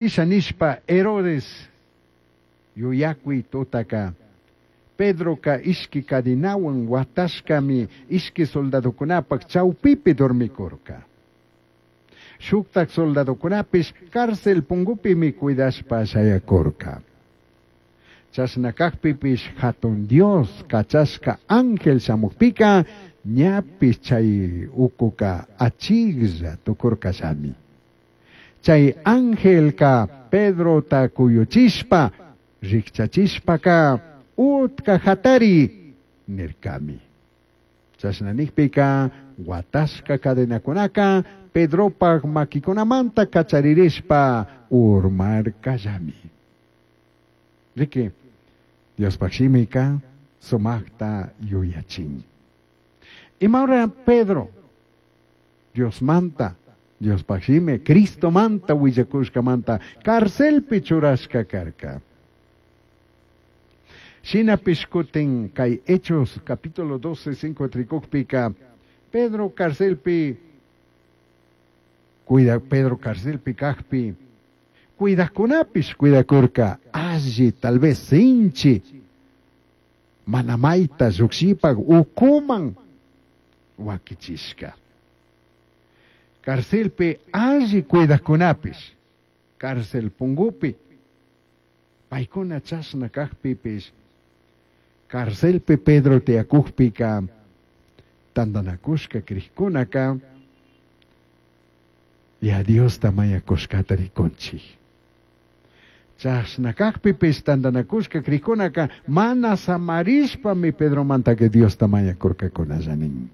Isha nishpa Herodes yuyacui tutaca, Pedroca ishqui cadenahuan huatashcami ishqui soldadocunapaj chaupipi dormicurca. Shujtaj soldadocunapish cárcel pungupimi cuidashpa shayacurca. Chashna cajpipish Jatun Dios cachashca ángel shamujpica ñapish chai ucuca achijlla tucurcallami. Chai angelca Pedrota cuyuchishpa, rijchachishpaca utca jatari nircami. Chashna nijpica huatashca cadenacunaca Pedropaj maquicunamanta cacharirishpa urmarcallami. Riqui, Diospaj shimica sumajta yuyachin. Imaura Pedro Diosmanta, Diospaj shimi, Cristomanta huillacushcamanta carcelpi churashca carca. Shinapish cutin cai Hechos capítulo 12, 5 ricujpica Pedro carcelpi cuida Pedro carcelpi cajpi cuidajcunapish cuidacurca alli tal vez sinchi mana maita llujshipaj ucuman huaquichishca. Carcelpi alli cuidajcunapish cárcel pungupi paicuna chashna cajpipish carcelpi Pedro tiyacujpica tandanacushca crijcunaca ya Diosta mañacushcata ricunchij. Chashna cajpipish tandanacushca crijcunaca mana samarishpami Pedromantaca Diosta mañacurcacunalla nin.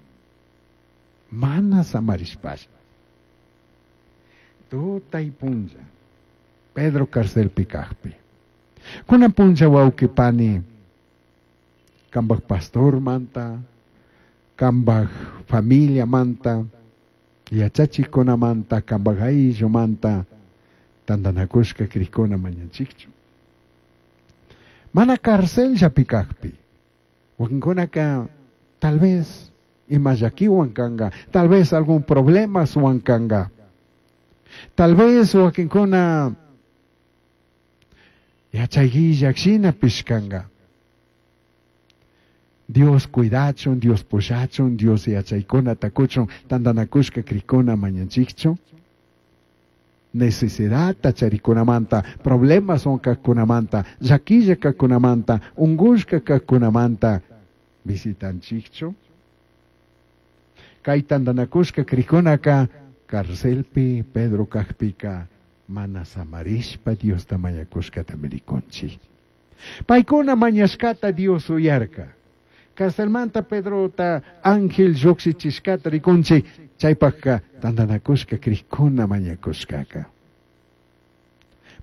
Mana samarishpash. Tutay punlla Pedro carcelpi cajpi. Cunan punlla wauqui pani cambaj pastormanta, cambaj familiamanta, yachachijcunamanta, cambaj ayllumanta tandanacushca crijcuna mañanchikchu. Mana carcelllapi cajpi. Wakinkunaka tal vez ima llaquiwan canga, tal vez algún problemaswan canga. Tal vez wakinkuna yachayguillak shinapish canga. Dios cuidachun, Dios pushachun, Dios yachaykunata cuchun, tandanakushka crijcuna mañanchikchu. Necesidadta charicunamanta, problemas kajkunamanta, llaquilla kajkunamanta, ungushka kajkunamanta visitanchikchu. Kay tandanakushka crijkunaka carcelpi Pedro kajpika mana samarishpa Diosta mañakushkatami rikunchik. Paykuna mañashkata Dios uyarka. Carcelmanta Pedrota ángel llujshichishkata rikunchik, chaypajka tandanakushka crijkuna mañakushkaka.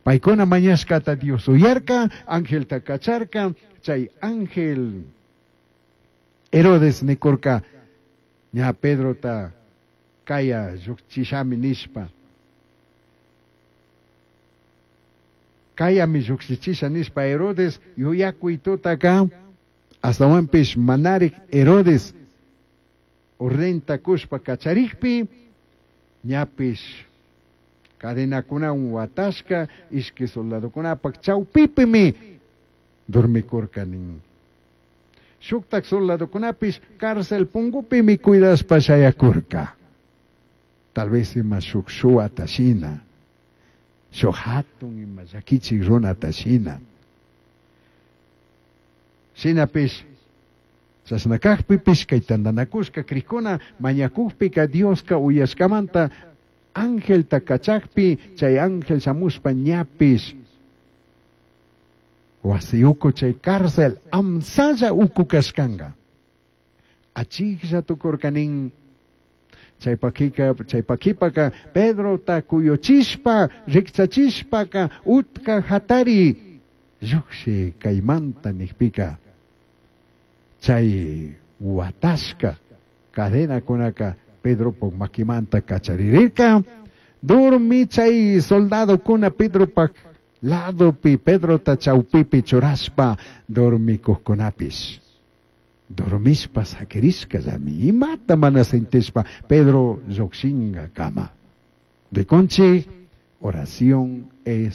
Paykuna mañashkata Dios uyarka, angelta kacharka, chay ángel Herodes nikurka, ña Pedrota kaya llujchishami nishpa. Kayami llujshichisha nishpa Herodes yuyakuy tutaka, astawanpish manarik Herodes ordenta kushpa kacharikpi, ñapish cadenakunawan watashka ishki soldadokunapak chawpipimi dormikurka nin. Shuktak soldadokunapish cárcel pungupimi cuidashpa shayakurka. Tal vez ima shuk shuwata shina, shuk hatun ima llakichik runata shina. Shinapish chashna kajpipish kay tandanakushka crijkuna mañakujpika Dioska uyashkamanta angelta kachakpi chay ángel shamushpa ñapish wasi uku chay cárcel amsalla uku kashkanga. Achijlla tukurka nin. Chaypakipaka Pedrota kuyuchishpa rikchachishpaka utka hatari llujshi kaymanta nijpika chay watashka cadenakunaka Pedropaj makimanta kacharirirka. Durmi chay soldadokuna Pedropaj ladopi Pedrota chawpipi churashpa dormikujkunapish. Dormishpa sakirishkallami imata mana sintishpa Pedro llujshinkakama. Rikunchik Oración es.